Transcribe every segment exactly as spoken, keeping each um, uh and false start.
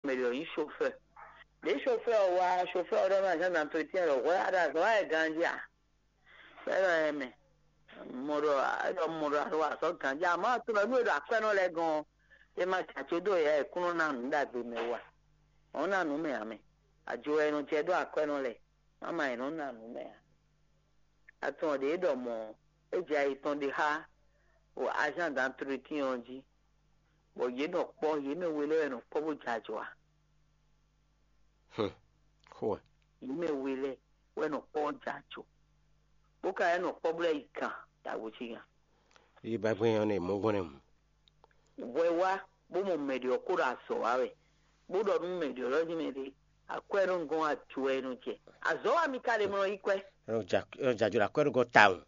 mɛ ɖě ɔ́ nyí chauffeur. Ɖě chauffeur ɔ́ wá, chauffeur ɔ́ ɖɔ nú agent d'entretien ɖɔ hwɛ a ɖo azɔ̌ wa wɛ ganjí a? Bɔ é ɖɔ ɛ mɛ, mɔ ɖɔ é ɖɔ mɔ ɖɔ a ɖo wa azɔ̌ ganjí, amɔ̌ a tunwun ɖɔ nú e ɖo akwɛ́nɔ lɛ́ɛ gɔ́n ɔ́, é ma jɛ acó dó yɛ e kún nɔ ná nǔ ɖagbe mɛ wú a? Ɔ́ ná nǔ mɛ ǎ mɛ. Ajo wɛ è nɔ jɛ dó akwɛ́nɔ lɛ́ɛ, má ma è nɔ ná nǔ mɛ ǎ. A tunwun ɖě e ɖɔ mɔ̌ ɔ́, é jɛ ayi tɔn ɖe xá agent d'entretien ɔ́ jí, bɔ yě nɔ kpɔ́, yě mɛ we lɛ́ɛ wɛ nɔ kpɔ́ bó jɛ ajɔ ǎ. Hum, xó wɛ. Yě mɛ we lɛ́ɛ wɛ nɔ kpɔ́ bó jɛ ajɔ, bó ka lɛ́ nɔ kpɔ́ bó lɛ́ yi gǎn ɖagbo cí gǎn. Yi ba gbɛn ɔ́ nɛ mɔ̌ gbɔn nɛ mu. Hwɛ wá bó mɔ mɛ ɖě ɔ́ kó ɖo azɔ̌ wa wɛ, bó ɖɔ nú mɛ ɖě ɔ́ ɖɔ jí mɛ ɖě akwɛ́ nɔ gɔ́n ajɔ wɛ nɔ jɛ. Azɔ̌ wa mi ka ɖe mlɔ yi kwɛ́. Jajɔ ɖo akwɛ́ ɖo gɔ́ tawun.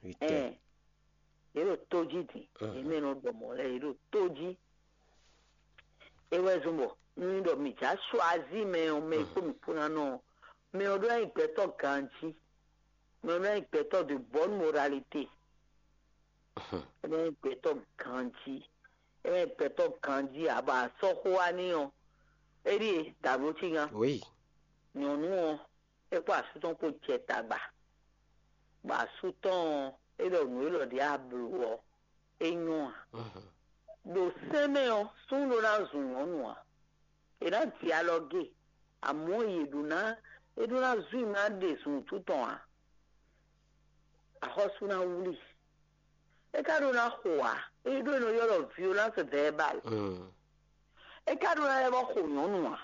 Vítɛ. Ɛn, yě ɖo tó jí din, yě mɛ nɔ ɖɔ mɔ̌ lɛ́ɛ yě ɖo tó jí. É wɛ zɔ́n bɔ nú ɖɔ mǐ já choisí mɛ ɔ́, mɛ e kpó mǐ kpó ná nɔ ɔ́, mɛ ɔ́ ɖó ná nyí gbɛtɔ́ ganjí, mɛ ɔ́ ɖó ná nyí gbɛtɔ́ de bonne moralité. É ná nyí gbɛtɔ́ ganjí, é ná nyí gbɛtɔ́ ganjí ǎ, bɔ a sɔ́ xó wá n'i ɔ́, é ɖíe dǎbló cí gán. Oui. Nyɔ̌nu ɔ́, é kpó asú tɔn kpó jɛ tagba, bɔ asú tɔn ɔ́, é ɖɔ nǔ élɔ́ ɖě a blǒ ɔ́, é nyɔ́ ǎ. Ɖo sɛ́n mɛ ɔ́, súnnu ɖó ná zun nyɔ̌nu ǎ. È nǎ ji alɔ ge, amɔ̌ yě ɖó ná é ɖó ná zun i ná ɖe zunwǔtu tɔn ǎ. Axɔ́sú ná wlí. É ka ɖó ná xo ǎ. É ɖó e nɔ ylɔ́ ɖɔ violence verbale. É ka ɖó ná lɛ́ vɔ́ xo nyɔ̌nu ǎ.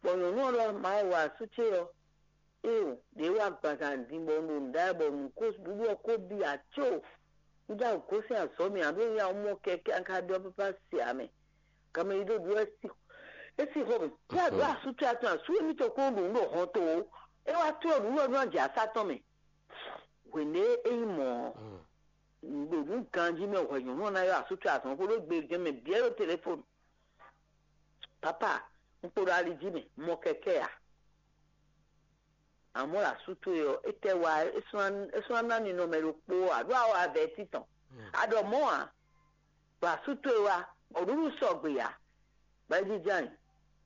Bɔ nyɔ̌nu ɔ́ ɖɔ Mawu asú ce ɔ́, éeǒ, ɖě wá agbaza din bɔ un ɖo nǔ ɖa wɛ bɔ nǔ ko ɖuɖu ɔ́ ko bi ǎ có. Un já gosín azɔ̌ mɛ ǎ, ɖó un ya mɔ kɛkɛ́ an ka ɖɔ pápá se ǎ mɛ. Ganmɛ e ɖo ɖu wɛ é sí xɔ mɛ. Fí a ɖǒ asú ce atɔn asú émítɔn kplɔ́n ɖo nǔ ɖo hɔn to ó. É wá tlɔ́ nǔ nɔ nú ajǎ sá tɔn mɛ. Hwěɖé é nyí mɔ̌ ɔ́, ɖo nǔ ganjí mɛ hwɛ nyɔ̌nu ɔ́ ná ylɔ́ asú ce azɔn xó ɖó gbe jɛ́n mɛ bǐ ɛ ɖo telefonu. Papa, un kpo ɖo ali jí mɛ, mɔ kɛkɛ́ ǎ. Amɔ̌ ɖo asú towe ɔ́, étɛ́ wá é sɔ́ ná ná ninɔmɛ ɖokpó ǎ, ɖó a wa vɛ̌ títɔn. A ɖɔ mɔ̌ ǎ, ɖo asú towe wá, bɔ nǔɖuɖu sɔgbe ǎ. Bɔ é jínjɔ́n ayǐ,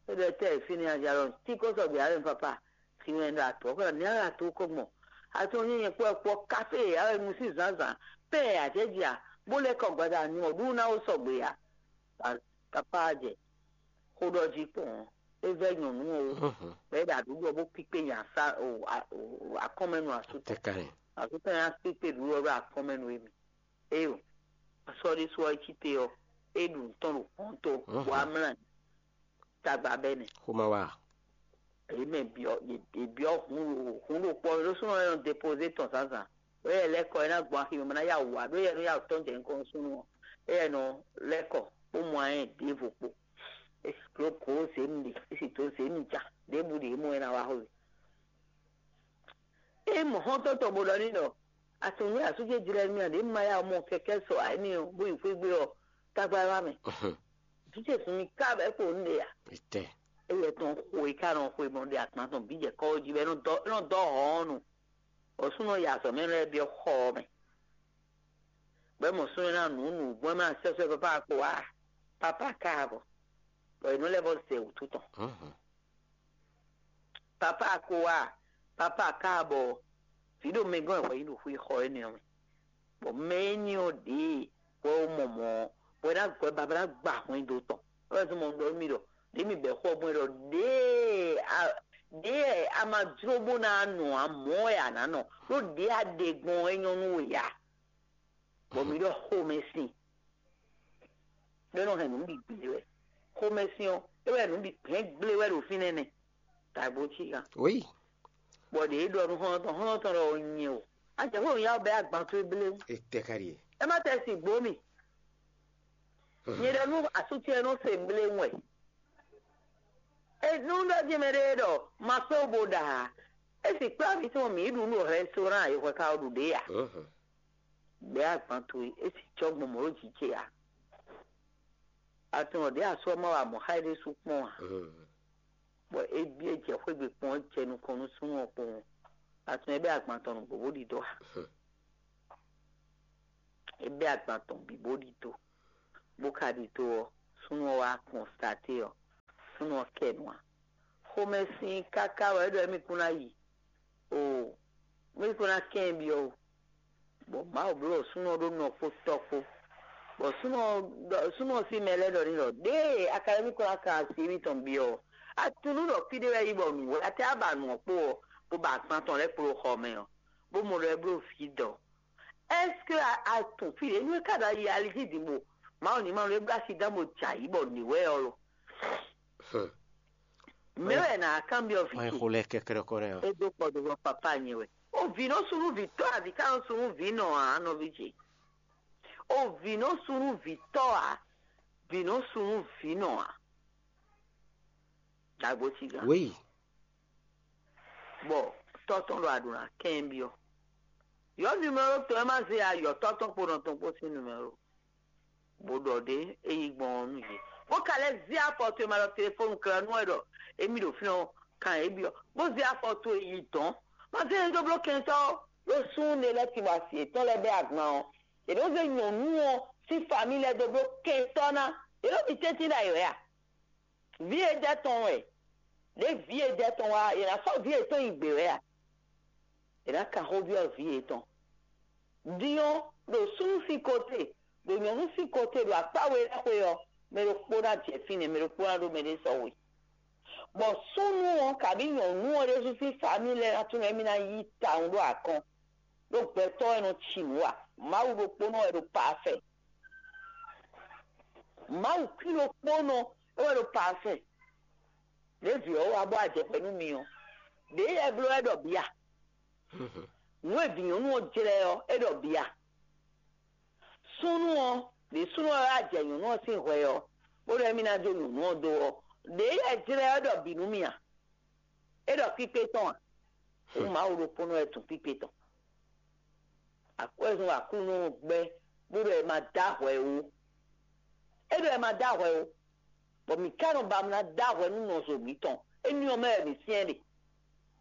é ɖɔ étɛ́ e fínɛ́ a jɛ alɔ tí kó sɔgbe ǎ wɛ papa, si wɛn ɖo atɔ̌ kɔ ní alɔ ato kɔ gbɔn. Atɔ́ nyí nyɛ kpɔ́ kpɔ́ káfé e a wɛ nu sín zǎnzǎn, pɛ́ e a jɛ ji a, bó lɛ́ kɔ gbada nyɔ ɖu ná ó sɔgbe ǎ. Papa jɛ xó ɖɔ jí kpɔn ɔ́, é vɛ́ nyɔ̌nu ɔ́ wú, bɔ é ɖo aɖǔɖɔ bó kpíkpé nya sá akɔ́nmɛnu asú tɔn. Asú tɔn nya kpíkpé ɖǔɖɔ ɖó akɔ́nmɛnu émí. Éyo, asɔ́ ɖésú ɔ́ é cí te ɔ́, é ɖu nǔ tɔn ɖo kpɔ́n tó, bɔ amlá tagba bɛ́ nɛ. Xó ma wá. Èyí mɛ byɔ́ yě byɔ́ hun ɖo hun ɖo kpɔ́ ɖó súnɔ ɛ nɔ depozé tɔn zǎnzǎn. Ɖó yɛ lɛ́ kɔ é ná gbɔn axi mɛ ná yá wǔ wá, ɖó yɛ nɔ yá wǔ tɔn jɛ nukɔn nú súnnu ɔ́. Éyɛ nɔ lɛ́ kɔ bó mɔ ayɛ ɖěvo kpo. É sì dó gǒ zě mi ɖe, é sì dó zě mi ja, ɖěbǔ ɖě mɔ é ná wá xo. É mɔ xɔ́ntɔn tɔn bó ɖɔ n'i ɖɔ: Atunwun nú asú ce jlɛ́ mì a ɖě ma yá mɔ kɛkɛ́ sɔ ǎ énɛ́ ɔ́, bó yi xwé gbé ɔ́, tagba wá mɛ. Vǐ ce sun mi ká bɔ é kpo nǔ ɖe ǎ. Etɛ. Éyɛ tɔn xo e ká nɔ xwe mɔ ɖe agban tɔn bǐ jɛ kɔ́ jí bɔ é nɔ dɔ́ é nɔ dɔ́ hɔ̌ɔ́n nu. Bɔ súnnu ya azɔ̌ mɛ lɛ́ɛ byɔ́ xɔ ɔ́ mɛ. Bɔ é mɔ súnnu ná nǔ nǔgbɔn ná sɛ́sɛ́ pápá ko wá pápá káàbɔ. Bɔ è nɔ lɛ́ vɔ zɛ wǔtu tɔn. Pápá ko wá pápá káàbɔ. Vǐ ɖo mɛ gɔ́n ɛ hwɛ yí ɖo xwé xɔ énɛ́ ɔ́ mɛ. Bɔ mɛ éní ɔ́ ɖě wɛ wó mɔ mɔ̌ ɔ́, bɔ é ná gbɔ baba ná gba hwɛndo tɔn. É wɛ zɔ́n mɔ un ɖɔ nú mi ɖɔ ɖě mi bɛ̌ xɔ gbɔn é ɖɔ ɖěe a ɖěe a ma jló bó ná nɔ ǎ, mɔ̌ wɛ a nǎ nɔ, ɖó ɖěe a ɖe gbɔn ɔ́ é nyɔ́ nú we ǎ. Bɔ mi ɖɔ xomɛsin ɖó é nɔ hɛn nǔ bǐ gblé wɛ. Xomɛsin ɔ́, é wɛ nǔ bǐ hɛn gblé wɛ ɖo fínɛ́ nɛ́. Tagbo cí gán. Oui. Bɔ ɖě é ɖɔ nú xɔ́ntɔn xɔ́ntɔn ɖɔ nyɛ o. Ajɛ xó ya bɛ agban towe bléwu. Etɛ ka ɖie. É má tɛ si gbó mi. Nyɛ ɖɔ nú asútiɛ nɔ se bléwu wɛ. Enú ɖɔ jí mɛ ɖé ɖɔ ma kpé bo ɖa ǎ. É si kplá mi tɔn mǐ ɖu nú restaurant e hwɛ ka ɔ ɖu ɖě ǎ. Gbɛ̌ agban towe é si cɔ́ gbɔn mɔ̌ ɖo jǐ ce ǎ. Atɔn ɖě asú ɔ́ má wa mɔ̌ xá é ɖésú kpɔ́n ǎ. Bɔ é byɔ́ jɛ xwé gbe kpɔ́n jɛ nukɔn nú súnnu ɔ́ kpowun. Atɔn é bɛ́ agban tɔn nǔgbó bó ɖidó ǎ. É bɛ́ agban tɔn bǐ bó ɖidó. Bó ka ɖidó ɔ́, súnnu ɔ́ wá kɔnstaté ɔ́, súnnu ɔ́ kɛ nu ǎ. Xomɛsin káká wɛ é ɖɔ émí kún ná yi o, émí kún ná kɛn byɔ́ o. Bɔ Mawu bló ɖɔ súnnu ɔ́ ɖó nɔ kpó tɔ́ kpó. Bɔ súnnu ɔ́ ɖɔ- súnnu ɔ́ sín mɛ lɛ́ɛ ɖɔ n'i ɖɔ: "Ɖěe a ka ɖo émí kún ná kan asi émítɔn byɔ́ ɔ́, a tunú ɖɔ fí ɖé wɛ é nyí bɔ nǔ wɛ a tɛ wá ba nǔ ɔ́ kpó ɔ́, bó ba agban tɔn lɛ́ɛ kpló xɔ mɛ ɔ́, bó mɔ ɖɔ é bló vǐ dɔ̌. Ɛ́skú a a tunwun fí ɖě nú é ka ɖo ayi ali jí din bo Mawu ní ma nú é bló asi dán bo jɛ ayǐ bɔ nǐ wɛ ɔ́ lo?" Mɛ̌ wɛ nǎ kanbyɔ́ vǐ Wọ́n ce? Xo lɛ́ kɛ́kɛ́ ɖɔkɔ́ nɛ́ ɔ́. É dó kɔ do bɔ papá nyɛ wɛ. O vǐ nɔ súnú vǐ tɔ́ a, vǐ ka nɔ súnú vǐ nɔ ǎ, nɔví ce. O vǐ nɔ súnú vǐ tɔ́ ǎ, vǐ nɔ súnú vǐ nɔ ǎ. Dagbo ci gán. Wéyi. Bɔ tɔ́ tɔn ɖo aɖǔ ná kɛ́n byɔ́. Yɔ numero tɔn e ma zé ayɔ tɔ́ tɔn kpo nɔ tɔn kpo sín numero. Bó ɖɔ ɖě é yi gbɔn ɔ́ nú yě. Bó ka lɛ́ zé afɔ towe ma ɖɔ telefɔnu klɛ́ nú wɛ ɖɔ émí ɖo fínɛ́ ɔ́, kan é byɔ́. Bó zé afɔ towe yi dɔ̌n. Ma zé nyɛ dó bló kɛntɔ́ ó. Ɖó súnnu ɖé lɛ́ɛ tin bɔ asi yětɔn lɛ́ɛ bɛ́ agban ɔ́, yě nɔ zé nyɔ̌nu ɔ́ sín famíli lɛ́ɛ dó bló kɛntɔ́ ná. Yě nɔ ɖi tɛ́ntin ɖ'ayǐ wɛ a? Vǐ e dɛ́ tɔn wɛ, ɖě vǐ e dɛ́ tɔn wá, yě ná sɔ́ vǐ yětɔn nyi gbě wɛ a? È nǎ kan xó byɔ́ vǐ yětɔn. Din ɔ́, ɖo súnnu sín kɔte, ɖo nyɔ̌nu sín kɔte, ɖo akpá we lɛ́ɛ xwe ɔ́, mɛ ɖokpó ná jɛ fínɛ́, mɛ ɖokpó ná ɖó mɛɖé sɔ́ we. Bɔ súnnu ɔ́, kabǐ nyɔ̌nu ɔ́ ɖésú sín famíli lɛ́ɛ ná tunwun émí ná yí tawun ɖó akɔn, ɖó gbɛtɔ́ wɛ nɔ ci nǔ ǎ. Mawu ɖokpónɔ wɛ ɖo pafɛ. Mawu kwín ɖokpónɔ é wɛ ɖo pafɛ. Ɖěvi ɔ́ wá bɔ ajɛ̌xwɛ nú mi ɔ́, ɖěe yɛ bló wɛ ɖɔ bǐ a? Nǔ e vǐ nyɔ̌nu ɔ́ jlɛ́ ɔ́, é ɖɔ bǐ a? Súnnu ɔ́, ɖě súnnu ɔ́ wá jɛ nyɔ̌nu ɔ́ sín hwɛ ɔ́, bó ɖɔ émí ná jó nyɔ̌nu ɔ́ dó ɔ́, ɖěe yɛ jlɛ́ ɔ́ ɖɔ bǐ nú mi a? É ɖɔ kpíkpé tɔn a? Hǔn Mawu ɖokpónɔ wɛ tunwun kpíkpé tɔn. Akwɛ́zɔn Aklúnɔ ɔ́ gbɛ́ bó ɖɔ è ma dó ahwɛ ó. É ɖɔ è ma dó ahwɛ ó, bɔ mǐ ka nɔ ba mlá dó ahwɛ nú nɔzo mǐtɔn. Énɛ́ ɔ́ mɛ wɛ mǐ syɛ́n ɖe.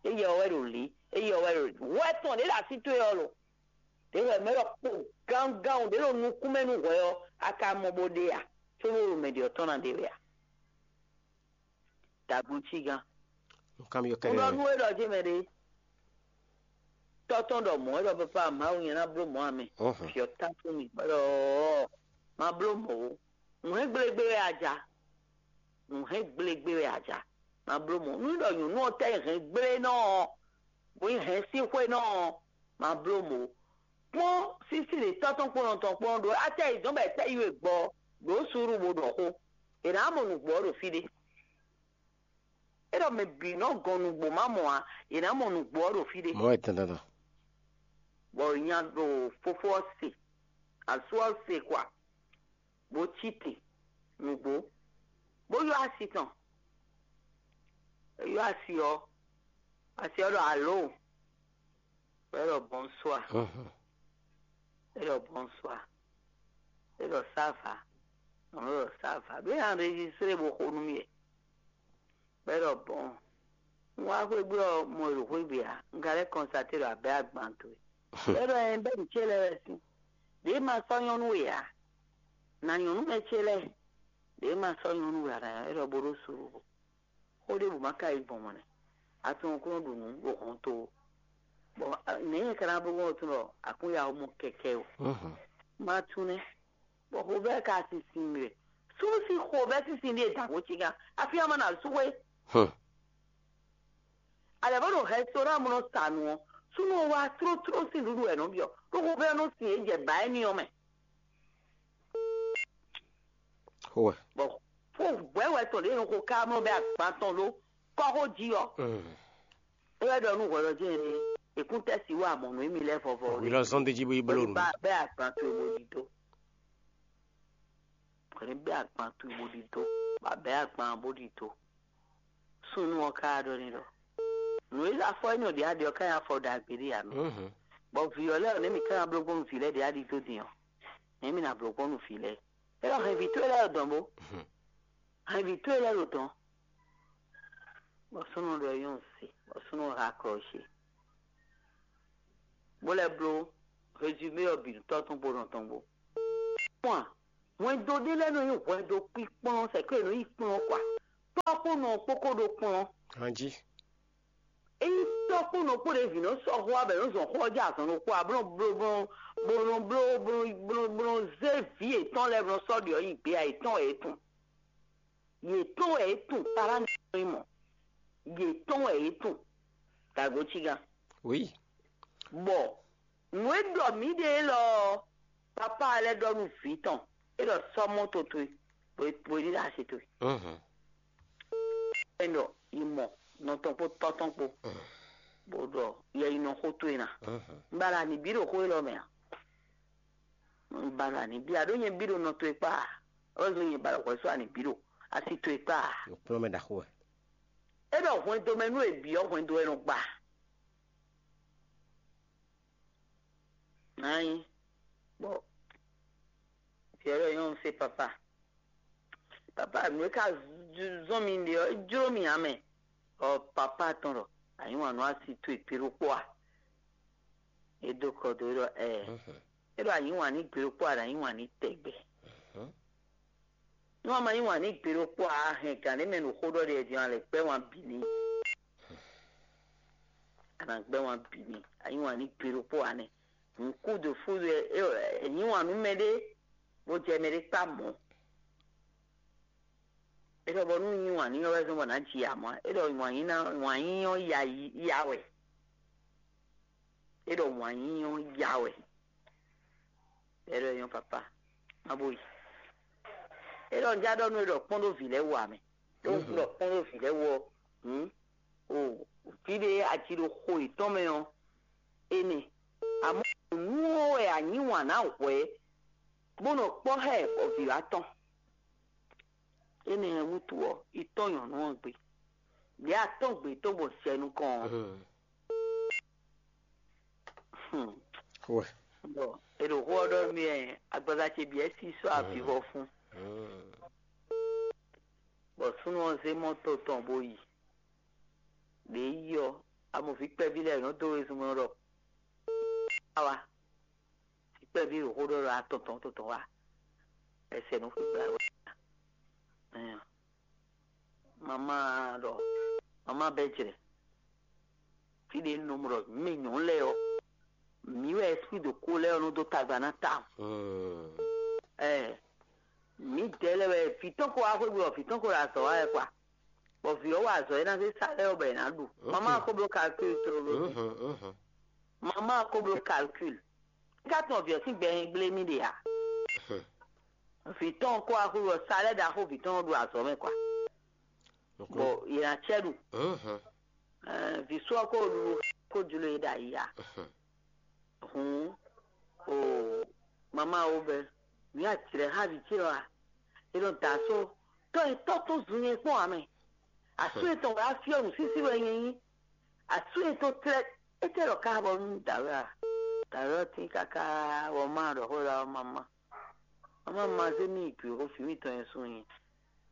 Éyɛ́ ɔ́ wɛ ɖo lǐ, éyɛ́ ɔ́ wɛ ɖo lǐ. Hwɛ tɔn ɖě ɖo así towe ɔ́ lo? Ɖě hwɛ mɛ ɖɔ kpo gangán ɖě ɖo nukún mɛ nú hwɛ ɔ́, a ka mɔ bó ɖe a? Có ɖo mɛ ɖě ɔ́ tɔn ná ɖe wɛ a? Dagbo cí gán. Nunkanbyɔ́ Un ɖɔ kɛ́ɖɛ́. Nú é ɖɔ jé mɛ ɖé. Tɔ́ tɔn ɖɔ mɔ̌ é ɖɔ papa Mawu nyɛ ná bló mɔ̌ amɛ. Ɔ́hɔn. Fyɔ tá fún mi. Bɔ ɖɔ ma bló mɔ̌ ó. Nǔ hɛn gblégbé wɛ a ja. Nǔ hɛn gblégbé wɛ a ja. Ma bló mɔ̌. Nú ɖɔ nyɔ̌nu ɔ́ tɛ hɛn gblé nɔ ɔ́, bó nyí hɛn sín xwé nɔ ɔ́, ma bló mɔ̌ ó. Kpɔ́n sísí ɖě tɔ́ tɔn kpɔ́n nɔ tɔn kpɔ́n ɖó atɛ yi dɔn bɔ è tɛ yi we gbɔ ɖǒ suúlu bó ɖɔ xó. È nǎ mɔ nǔgbó ɔ́ ɖo fí ɖé. É ɖɔ mɛ bǐ nɔ gɔn nǔgbó má mɔ ǎ, è nǎ mɔ nǔgbó ɔ́ ɖo fí ɖé. Mɔ̌ wɛ dandan. Bɔ nya ɖo fofó ɔ́ se, asú ɔ́ se kwa, bó cí te nǔgbó, bó ylɔ́ asi tɔn. É ylɔ́ asi ɔ́, asi ɔ́ ɖɔ alo, bɔ é ɖɔ bonsoir. Mhm. É ɖɔ bonsoir. É ɖɔ ça va. Ɔ́n, é ɖɔ ça va. Bó enregistré bó xo nú mì wɛ. Bɔ é ɖɔ bɔn. Un wá xwé gbe ɔ́, mɔ e ɖo xwé gbe ǎ. Un ka lɛ́ constaté ɖɔ abɛ agban towe. Bɔ é ɖɔ ɛ bɛ́ nǔ ce lɛ́ɛ wɛ sín. Ɖě ma sɔ́ nyɔ́nú we ǎ. Na nyɔ̌nu mɛ ce lɛ́ɛ. Ɖě ma sɔ́ nyɔ́nú we ǎ, na é ɖɔ bó ɖó suɖu. Xó ɖěbǔ ma ka yi gbɔn mɔ̌ nɛ́. A tunwun kún nɔ ɖu nǔ ɖo hɔnto ó. Bɔ nɛ̌ nyɛ ka ná bló gbɔn tunwun ɖɔ a kún ya mɔ kɛkɛ ó? Mhm. Ma tunwun nɛ́. Bɔ xovɛ́ ka sinsin mì wɛ. Súnnu sín xovɛ́ sinsin ɖíe dǎn xó ce gán. Afi ama na sú xwé. Hmm. A lɛ̌ vɔ ɖo rɛstorán mɔ nɔ sa nǔ ɔ́, súnnu ɔ́ wá tlótló sín nǔɖuɖu wɛ nɔ byɔ́. Ɖó xovɛ́ ɔ́ nɔ sin é jɛ bǎ éní ɔ́ mɛ. Xó wɛ. Bɔ xó hwɛ̌ wɛ tɔn ɖě nɔ xo ká mlɔ́ bɛ agban tɔn ɖó kɔ́xó jí ɔ́. Mm. É wɛ ɖɔ nú hwɛɖɔjí ɛnɛ, è kún tɛ́ si wá mɔ̌ nú émí lɛ́ɛ vɔvɔ. Hwi lɔ zɔn d'é jí bó yi bló nǔ. Bá bɛ́ agban towe bó ɖi dó. Hwɛ̌ bɛ́ agban towe bó ɖi dó. Bá bɛ́ agban bó ɖi dó. Súnnu ɔ́ ka ɖɔ n'i ɖɔ nǔ e afɔ énɛ́ ɔ́ ɖě a ɖe ɔ́ ka nyí afɔ ɖagbe ɖé ǎ mɛ. Mhm. Bɔ vǐ ɔ́ lɛ́ɛ ɔ́, nɛ̌ mǐ ka ná bló gbɔn nú vǐ lɛ́ɛ ɖě a ɖi dó din ɔ́? Nɛ̌ mǐ ná bló gbɔn nú vǐ lɛ́ɛ? É ɖɔ hɛn vǐ towe lɛ́ɛ ɖo dɔ̌n bó. Hɛn vǐ towe lɛ́ɛ ɖo dɔ̌n. Bɔ súnnu ɖɔ nyɔ́ se, bɔ súnnu ha klɔ́ ce. Bó lɛ́ bló résumé ɔ́ bǐ nú tɔ́ tɔn kpó nɔ tɔn kpó. Kpɔ́n a, hwɛndo ɖé lɛ́ɛ nɔ nyí hwɛndo kpíkplɔ́n, sɛ̌ kó è nɔ yí kplɔ́n kɔ a? Tɔ́ kpó nɔ kpó kó ɖo kplɔ́n. Ganjí. Ényí tɔ́ kpó nɔ kpó ɖě vǐ nɔ sɔ́ xó abɛ nɔ zɔn xó ɔ́ jɛ azɔn ɖokpó ǎ, bó nɔ bló bó nɔ bló bó nɔ bló bó nɔ zé vǐ yětɔn lɛ́ɛ bó nɔ sɔ́ ɖě ɔ́ nyi gbé ǎ, yětɔn wɛ é tun. Yětɔn wɛ é tun, pará nɔ é mɔ. Yětɔn wɛ é tun. Dǎgbo cí gán. Oui. Bɔ nǔ e ɖɔ mǐ ɖe élɔ́ ɔ́, papá lɛ́ɛ ɖɔ nú vǐ tɔn, é ɖɔ sɔ́ mɔto towe, bó bó ní ɖo asi towe. Mhm. É ɖɔ yi mɔ nɔ tɔn kpó tɔ́ tɔn kpó, bó ɖɔ yɛ yi nɔ xó towe ná. Mhm. Un ba ɖo anǐ bí ɖo xó élɔ́ mɛ a? Un ba ɖo anǐ bí a? Ɖó nyɛ bí ɖo nɔ towe kpá a? Ɔ́ zɔn nyɛ ba ɖo hwɛ̌ sɔ́ anǐ bí ɖo asi towe kpá a? Yǒkplɔ́ mɛ ɖaxó wɛ. É ɖɔ hwɛndo mɛ nú è bǐ ɔ́, hwɛndo wɛ nɔ gba. Nǎ nyí bɔ vǐ ɔ́ ɖɔ nyɔ́ un se papa. Papa, nǔ e ka zɔ́n mi ɖe ɔ́, é jló mì ǎ mɛ. Ɔ papa tɔn ɖɔ, a yǐ wǎn nú asi towe gbe ɖokpó a? É dó kɔ dó é ɖɔ ɛɛ. É ɖɔ a yǐ wǎn ní gbe ɖokpó a, ɖo a yǐ wǎn ní tɛgbɛ. Nú a ma yí wǎn n'i gbe ɖokpó ǎ, a hɛn gǎn ɖé mɛ ɖo xó ɖɔ ɖe din, a lɛ gbɛ́ wǎn bǐ n'i. A nǎ gbɛ́ wǎn bǐ n'i. A yí wǎn n'i gbe ɖokpó ǎ nɛ́. Nǔkúdo fúdo ɛ, ɛ yí wǎn nú mɛɖé, bó jɛ mɛɖé kpá mɔ̌. É ɖɔ bɔ nú yí wǎn n'i ɔ́ wɛ zɔ́n bɔ nǎ ji amɔ̌. É ɖɔ wǎn yí ná wǎn yí ɔ́ ya yi ya wɛ. É ɖɔ wǎn yí ɔ́ ya wɛ. É ɖɔ nyɔ́ papa, má bó yi. É ɖɔ un já ɖɔ nú é ɖɔ kpɔ́n ɖó vǐ lɛ́ɛ wú ǎ mɛ. Ɖó un ɖɔ kpɔ́n ɖó vǐ lɛ́ɛ wú ɔ́, hǔn o vǐ ɖé aji ɖo xo yětɔn mɛ ɔ́, énɛ́. Amɔ̌ nǔ ɔ́ wɛ a nyǐ wǎn ná hwɛ̌, bó nɔ kpɔ́ xá ɛ bɔ vǐ wá tɔn. Énɛ́ wútu ɔ́, yi tɔ́n nyɔ̌nu ɔ́ gbe. Lě a tɔ́n gbě tɔn gbɔn sɛ nukɔn ɔ́. Wɛ. Bɔ è ɖo xó ɔ́ ɖɔ mì wɛ agbaza ce bǐ wɛ sí sɔ́ avivɔ fún. Bɔ súnnu ɔ́ zé mɔto tɔn bó yi. Ɖě yi ɔ́, amɔ̌ví kpɛví lɛ́ɛ nɔ dó wezun mɛ ɖɔ awa. Vǐ kpɛví ɖo xó ɖɔ ɖɔ atɔn tɔn tɔn wá. Ɛsɛ nú xwé gbla wɛ. Mama ɖɔ mama bɛ jrɛ. Fí ɖé nɔ mɔ ɖɔ mɛ nyɔ̌nu lɛ́ɛ ɔ́, mǐ wɛ esprit de ko lɛ́ɛ ɔ́ nɔ dó tagba ná ta. Ɛ mǐdɛɛ lɛ́ɛ wɛ vǐ tɔn ko wá xwé gbe ɔ́, vǐ tɔn ko ɖo azɔ̌ wa wɛ kwa. Bɔ vǐ ɔ́ wa azɔ̌ e ná zé sa lɛ́ɛ ɔ́ bɔ è nǎ ɖu. Mama ko bló calcul tlóló. Mama ko bló calcul. Ka tɔn vǐ ɔ́ sín gbɛ nyi gblé mì ɖe ǎ. Vǐ tɔn ko axu ɔ́ sa lɛ́ ɖaxó vǐ tɔn ɖo azɔ̌ mɛ kwa. Bɔ yě ná cɛ ɖu. Vǐ sɔ ko ɖu ko jló e ɖo ayi ǎ. Hǔn o mama wo bɛ mǐ aclɛ xá vǐ ce ɔ́ a? È nɔ da asó tɔ́ e tɔ́ tɔn zun nyɛ kpɔ́n ǎ mɛ. Asú etɔn wɛ á fyɔ́ nǔsísí wɛ nyɛ nyí. Asú etɔn tlɛ étɛ́ lɔ ka bɔ nú dǎwe a? Dǎwe ɔ́ tín káká bɔ má ɖɔ xó ɖɔ ɔ́ mama. Mama ma zé mì yi gbě xó vǐ mitɔn nyɛ sun nyi.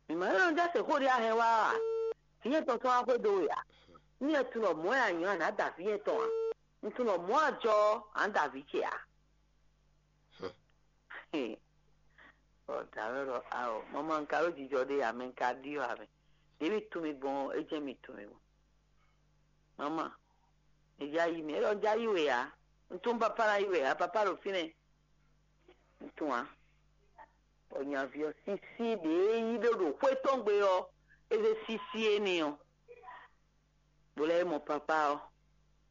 Mǐ ma nɔ jɛ se xó ɖé a hɛn wá a? Vǐ nyɛ tɔn tɔn wá xwedó we a? Nú nyɛ tunɔ mɔ̌ wɛ a nyɔ̌ a nǎ da vǐ nyɛ tɔn a? Un tunɔ mɔ̌ a jɔ ɔ́, a nǎ da vǐ ce a? Ɔ dǎwe ɖɔ ao, mama un ka ɖó jijɔ ɖé a mɛ un ka ɖyɔ́ a mɛ. Ɖě mi tunwun mi gbɔn ɔ́, é jɛ́n mi tunwun mi gbɔn. Mama, mi já yi mi, é ɖɔ un já yi we ǎ. Un tunwun papa ná yi we ǎ, papa ɖo fínɛ́. Un tunwun ǎ. Bɔ nyaví ɔ́ sísí ɖě yí ɖó ɖo xwé tɔn gbe ɔ́, é zé sísí énɛ́ ɔ́. Bó lɛ́ mɔ papa ɔ́,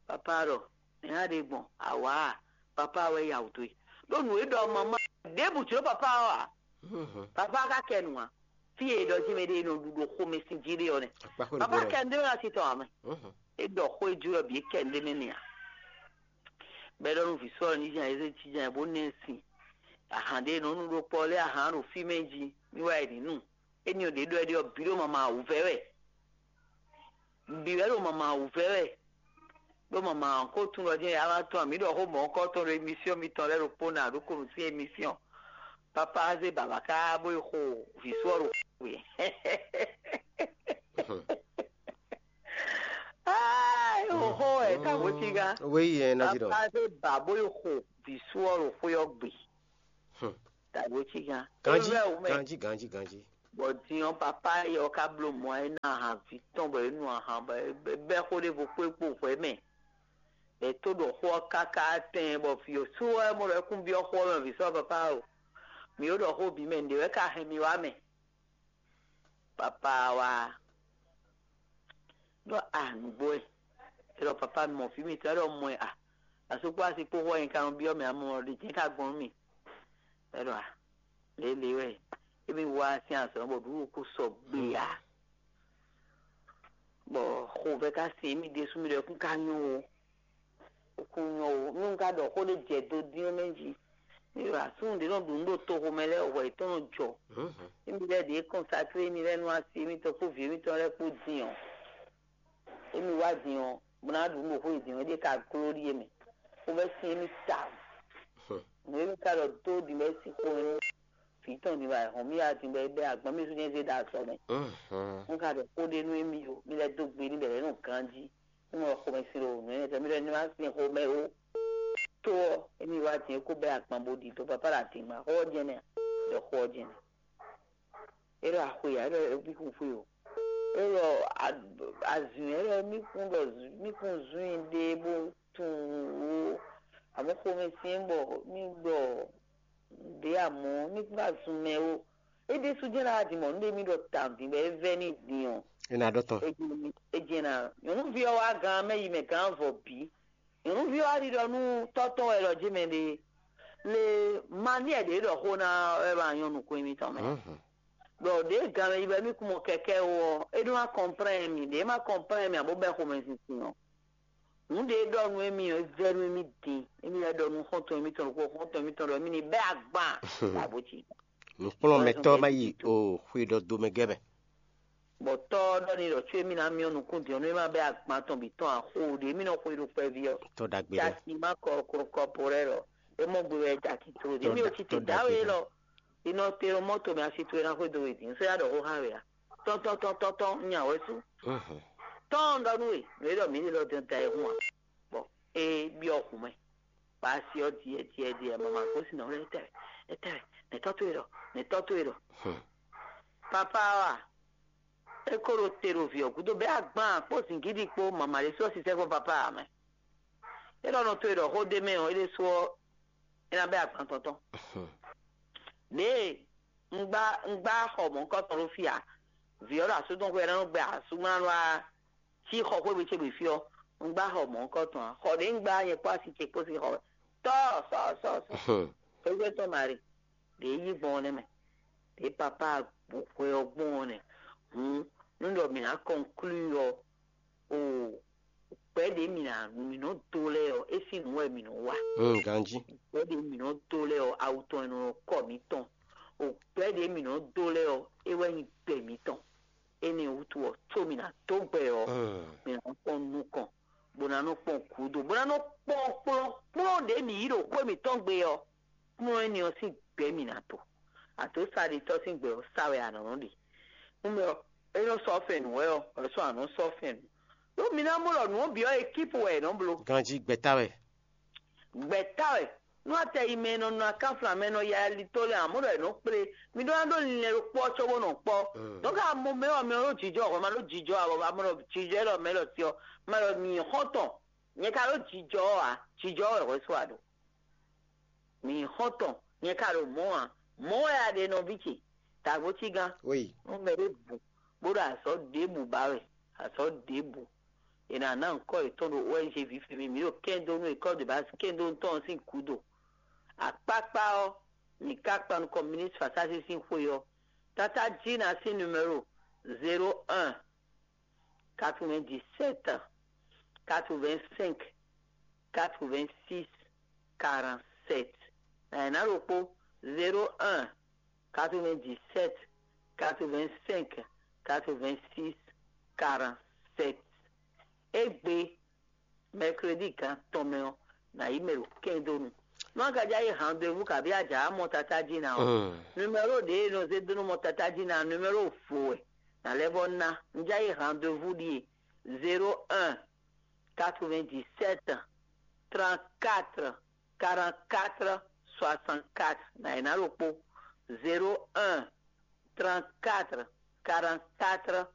papa ɖɔ: "Nɛ̌ a ɖe gbɔn? Awǎ a? Papa wɛ ya wǔ dó e." Ɖó nǔ e ɖɔ mama ɖěbǔ jló papa ɔ́ ǎ. Papa ka kɛ nǔ ǎ. Fí e è ɖɔ jí mɛ ɖé e nɔ ɖu ɖo xomɛ sín jí ɖé ɔ́ nɛ́. Papa kɛ nǔ ɖé mɛ ná titɔn ǎ mɛ. É ɖɔ xó e jló ɔ́ bǐ é kɛ nǔ ɖé mɛ n'i ǎ. Bɔ é ɖɔ nú vǐ sɔ́ ɔ́ ní zán e zé jínjɔ́n ɛ bó ná ɛ sin. Ahan ɖé e nɔ nu ɖó kpɔ́ lɛ́ɛ ahan ɖo fí mɛ jí, mì wá yi ní nu. Éní ɔ́ ɖě ɖɔ é ɖe ɔ́ bǐ ɖo mama wǔvɛ́ wɛ. Bǐ wɛ ɖo mama wǔvɛ́ wɛ. Ɖó mama ko tunwun ɖɔ jɛ́n yǎ wá tɔn mǐ ɖɔ xó mɔ̌kɔ́tɔn ɖo émission mitɔn lɛ́ɛ ɖokpó ná ɖó konu sín émission. Papa zé baba ká bó yi xo vǐ sɔ́ ɖo xwe. Ah, é xo xó wɛ tá bó cí gán. Oui, hein, Naji dɔ. Papa zé ba bó yi xo vǐ sɔ́ ɖo xwe ɔ́ gbe. Tá bó cí gán. Ganji, É wɛ wú mɛ. Ganji, ganji, ganji. Bɔ din ɔ́, papa ɔ́ ka bló mɔ̌ ɔ́, é ná ahan vǐ tɔn bɔ é nu ahan bɔ é bɛ́ xó ɖěvo kpó é kpo hwɛ̌ mɛ. È tó ɖɔ xó ɔ́ káká tɛn bɔ vǐ ɔ́ sú wɛ mɔ ɖɔ é kún byɔ́ xó ɔ́ mɛ vǐ sɔ́ papa o. Mǐ ó ɖɔ xó bǐ mɛ, nǔɖé wɛ ka hɛn mi wá mɛ. Papa ɔ́ wá ɖɔ a nǔgbó wɛ. É ɖɔ papa mi mɔ fí mitɔn, é ɖɔ mɔ ɛ a. Asú kpó asi kpó xó ɔ́ nyɛ ka nɔ byɔ́ mɛ amɔ ɖě jɛ́n ka gbɔn nú mì. É ɖɔ a lě lě wɛ émi wá sín azɔ̌ bɔ ɖǔɖú kó sɔgbe ǎ. Bɔ xovɛ́ ka sin émí ɖésú mì ɖɔ é kún ka nyɔ́ ó. É kún nyɔ́ ó. Nú un ka ɖɔ xó ɖé jɛ do dín ɔ́ mɛ jí. Mì ɖɔ asúnnu ɖě nɔ ɖu nǔ ɖo toxo mɛ lɛ́ɛ hwɛ yětɔn nɔ jɔ. Émi lɛ́ɛ ɖě kɔnsakle émi lɛ́ɛ nú asi émítɔn kpó vǐ émítɔn lɛ́ɛ kpó din ɔ́. Émi wá din ɔ́, bó ná ɖu nǔ ɖo xó e din ɔ́, é ɖe ka gló ɖíe mɛ. Xovɛ́ sin émi tawun. Nǔ e mì ka ɖɔ dó din bɔ é sin xomɛ nú vǐ tɔn din bɔ ayǐhɔ́n mì wá din bɔ é bɛ́ agban mì sú nyɛ zé ɖo azɔ̌ mɛ. Un ka ɖɔ xó ɖé nú émi ó, mi lɛ́ dó gbe n'i bɔ è nɔ ganjí. Nú mɔ xomɛ sin ɖo nǔ énɛ́ tɔn mì ɖɔ ní má sin xomɛ ó. Tó ɔ́, émi wá din é kó bɛ́ agban bó ɖi dó papá ɖo adǐngban xó ɔ́ jɛ́n nɛ́ a? Ɖɔ xó ɔ́ jɛ́n nɛ́. É ɖɔ axwe ǎ, é ɖɔ é bí kún xwe o. É ɖɔ azǐn ɛ ɖɔ mí kún ɖɔ mí kún zún i ɖe bó tunwun ó. Amɔ̌ xomɛ syɛ́n bɔ mí ɖɔ ɖě amɔ̌ mí kún ka zun mɛ ó. É ɖésú jɛ́n ɖo adǐ mɔ̌ nú ɖé mí ɖɔ tawun din bɔ é vɛ́ n'i din ɔ́. É ná ɖɔ tɔn. É jɛ́n ná nyɔ̌nuví ɔ́ wá gán mɛ yi mɛ gán vɔ bǐ. Nyɔ̌nuví ɔ́ wá ɖiɖɔ nú tɔ́ tɔn wɛ ɖɔ jé mɛ ɖe. Le maniɛ ɖě ɖɔ xó ná wɛ ma nyɔ́ nukún émítɔn mɛ. Ɖɔ ɖě gan mɛ yi bɔ émí kún mɔ kɛkɛ ó ɔ́, é ɖó ná kɔnplɛ́n mì, ɖě má kɔnplɛ́n mì abó bɛ́ xomɛ sinsin ɔ́. Nǔ ɖě ɖɔ nú émí ɔ́, é vɛ́ nú émí din. Émí lɛ́ ɖɔ nú xɔ́ntɔn émítɔn ɖokpó, xɔ́ntɔn émítɔn ɖɔ émí ní bɛ́ agban. Abǒ ci. Nǔkplɔ́nmɛtɔ́ má yi o xwe ɖɔ do mɛ gɛ́ mɛ. Bɔ tɔ́ ɔ́ ɖɔ n'i ɖɔ có émí ná myɔ́ nukún din ɔ́, nú é má bɛ́ agban tɔn bǐ tɔn axó ɖě émí nɔ xwe ɖo kpɛví ɔ́. Tɔ́ ɖagbe ɖé. Casi má kɔ kɔkɔpo lɛ́ɛ ɖɔ é mɔ gbe wɛ caki tro ɖě émí ò ci te dǎwe lɔ. Inɔ te ɖo mɔ́to mɛ asi towe ná xwedó we din sɔ́ yá ɖɔ xó xá we a? Tɔ́ntɔ́ntɔ́ntɔ́ntɔ́ nya wɛ sú. Tɔ́n ɖɔ nú we nǔ e ɖɔ mǐ ɖe lɔ dɔn da e hun a? Bɔ é byɔ́ hun mɛ. Bɔ asi ɔ́ diɛ diɛ diɛ mama gosín ɔ́ lɛ́ tɛ́ tɛ́ nɛ̌tɔ́ towe ɖɔ nɛ̌tɔ́ towe ɖɔ. Papa wa é ko ɖo te ɖo vǐ ɔ́ gúdo bɛ́ agban kpó zǐngídi kpó mama ɖé sɔ́ sisɛ́ kpó papa ǎ mɛ. É ɖɔ nɔ towe ɖɔ xó ɖ'é mɛ ɔ́, é ɖésú ɔ́, é ná bɛ́ agban tɔn tɔn. Ɖěe un gbá un gbá xɔ mɔ̌hunkɔtɔn ɖó fí ǎ. Vǐ ɔ́ ɖo asú tɔn xwé ɔ́ ná nɔ gbɛ asúmlánú wá cí xɔ xwé gbe ce gbe fí ɔ́, un gbá xɔ mɔ̌hunkɔtɔn ǎ. Xɔ ɖě un gbá nyɛ kpó asi ce kpó sín xɔ wɛ. Tɔ́ sɔ sɔ sɔ. Xwégbé tɔn Mari ɖě yí gbɔn ɔ́ nɛ́ mɛ. Ɖě papá hwɛ ɔ́ gbɔn ɔ́ nɛ́. Hǔn nú ɖɔ mǐ ná kɔnklúi ɔ́, o gbɛ̌ ɖě mǐ ná mǐ nɔ dó lɛ́ɛ ɔ́, é sín nǔ wɛ mǐ nɔ wa. Ganjí. Gbɛ̌ ɖě mǐ nɔ dó lɛ́ɛ ɔ́, awu tɔn e nɔ kɔ mǐtɔn. O gbɛ̌ ɖě mǐ nɔ dó lɛ́ɛ ɔ́, é wɛ nyí gbɛ mǐtɔn. Énɛ́ wútu ɔ́, có mǐ ná dó gbɛ ɔ́, mǐ ná kpɔ́n nukɔn, bó ná nɔ kpɔ́n gǔdo, bó ná nɔ kpɔ́n kplɔ́nkplɔ́n ɖě mǐ yí ɖo xwé mǐtɔn gbe ɔ́, kplɔ́n énɛ́ ɔ́ sín gbɛ̌ mǐ ná to. Àdǒsáɖitɔ́ sín gbɛ ɔ́ sá wɛ a nɔ nɔ ɖe. Nú mɛ ɔ́, é nɔ sɔ́ fɛn nǔ wɛ ɔ́, wɛ sɔ́ a nɔ sɔ́ fɛn nǔ. Ɖó mi ná mɔ ɖɔ nǔ ɔ́ bǐ ɔ́, ekípu wɛ è nɔ bló. Ganjí gbɛ̌ta wɛ. Gbɛ̌ta wɛ. Nú atɛ yi mɛ e nɔ nɔ akánflan mɛ e nɔ ya ali tó lɛ́ɛ ǎ, mɔ ɖɔ è nɔ kplé. Mi ɖó ná ɖó linlɛn ɖokpó ɔ́ cóbó nɔ kpɔ́. Dɔ̌n ka mo mɛ ɔ́, mɛ ɔ́ ɖó jijɔ hwɛ, ma ɖó jijɔ avɔ, ma ɖɔ jijɔ élɔ́ mɛ élɔ́ ti ɔ́, ma ɖɔ mi nyí xɔ́ntɔn. Nyɛ ka ɖó jijɔ ɔ́ ǎ, jijɔ ɔ́ wɛ hwɛ sú a ɖo. Mi nyí xɔ́ntɔn, nyɛ ka ɖo mɔ̌ ǎ. Mɔ̌ wɛ a ɖe nɔví ce, dǎgbócígán. Nú mɛ ɖé bǔ, bó ɖo azɔ̌ ɖěbǔ ba wɛ, azɔ̌ ɖěbǔ. È nǎ ná nyǐkɔ yětɔn ɖo O N G vǐ fɛ́ mì, mǐ ɖo kɛ́ndó nú école de base kɛ́ndó tɔn sín gǔdo. Akpákpá ɔ́, mǐ ka kpa nukɔn ministre Fasási sín xwé ɔ́. Tátájí ná sín numéro zéro un, quatre-vingt-dix-sept, quatre-vingt-cinq, quatre-vingt-six, quarante-sept. Nǎ ɖokpó, zéro un, quatre-vingt-dix-sept, quatre-vingt-cinq, quatre-vingt-six, quarante-sept. Égbé, mercredi gan tɔn mɛ ɔ́, nǎ yi mɛ ɖo kɛ́ndónu. Nú a ka já yi rendez-vous kabí a jǎ mɔ tatá jí ná ɔ́, numéro ɖě e nɔ zé dó nú mɔ tatá jí ná, numéro vo wɛ. Nǎ lɛ́ vɔ́ ná. Un já yi rendez-vous ɖíe: zéro un, quatre-vingt-dix-sept, trente-quatre, quarante-quatre, soixante-quatre. Nǎ yi ná ɖokpó: zéro un, trente-quatre, quarante-quatre,